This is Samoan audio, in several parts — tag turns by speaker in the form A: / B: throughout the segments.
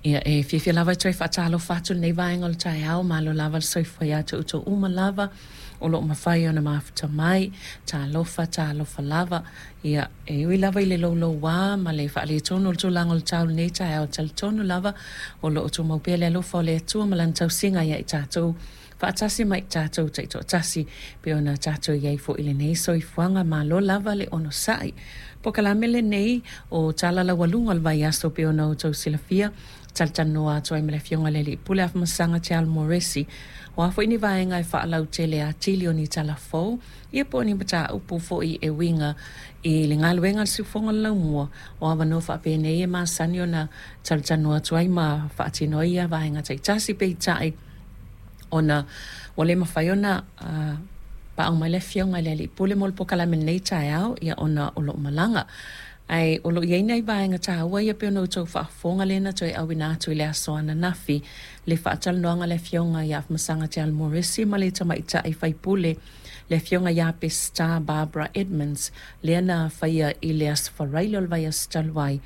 A: Ia, e fiafia lava e toe faatalofa atu i lenei vaega o le taeao, malo lava le soifua ia te outou uma lava o lo o mafai ona mafuta mai. Talofa, talofa lava. Ia, e ui lava i le louloua ma le faaletonu o le tulaga o le tau i lenei taeao, e talitonu lava o lo o tumau pea le alofa o le Atua ma Lana tausiga ia i tatou faatasi ma i tatou taitoatasi pei ona tatou i ai foi i lenei soifuaga. Malo lava le onosai. Polokalame lenei o Tala Laualuga o le Vaiaso pei ona outou silafia, talatalanoa atu ai ma le Afioga i le Alii Pule Afamasaga Te Alo Moresi. O a foi ni vaega e faalautele atili o ni tala fou, ia po o ni mataupu foi e uiga i le galuega a le Siufofoga o le Laumua, o avanoa faapenei e masani ona talatalanoa atu ai ma faatino ai ia vaega taitasi. Peitai, ona ua le mafai ona paau mai le Afioga i le Alii Pule mo le polokalame i lenei taeao, ia ona o lo o malaga. Ae o lo o i ai nai vaega taua ia pei ona outou faafofoga lea na toe auina atu i le aso ananafi le faatalanoaga a le Afioga ia Afamasaga Te Alo Moresi ma le tamaitai faipule le Afioga ia Peseta Barbara Edmonds lea na faia i le aso Faraile o le vaiaso talu ai.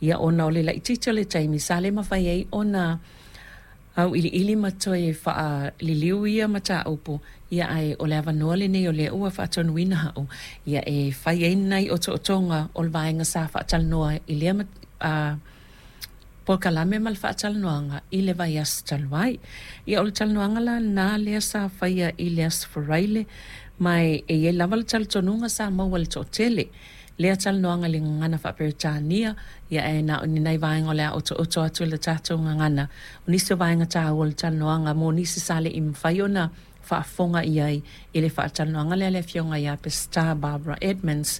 A: Ia ona o le laitiiti o le taimi sa le mafai ai ona auiliili ma toe faaliliu ia mataupu, ia ae o le avanoa lenei o lea ua faatonuina au ia e fai ai nai otootoga o le vaega sa faatalanoa i lea polokalame ma le faatalanoaga i le vaiaso talu ai. Ia o le talanoaga la lena lea sa faia i le aso Faraile, ma e i ai lava le talitonuga sa maua e le toatele lea talanoaga i le gagana faa-Peretania, ia ae na o ni nai vaega o le a otooto atu i le tatou gagana. O nisi o vaega taua o le talanoaga mo nisi sa le i mafai ona faafofoga i ai i le faatalanoaga lea a le Afioga ia Peseta Barbara Edmonds.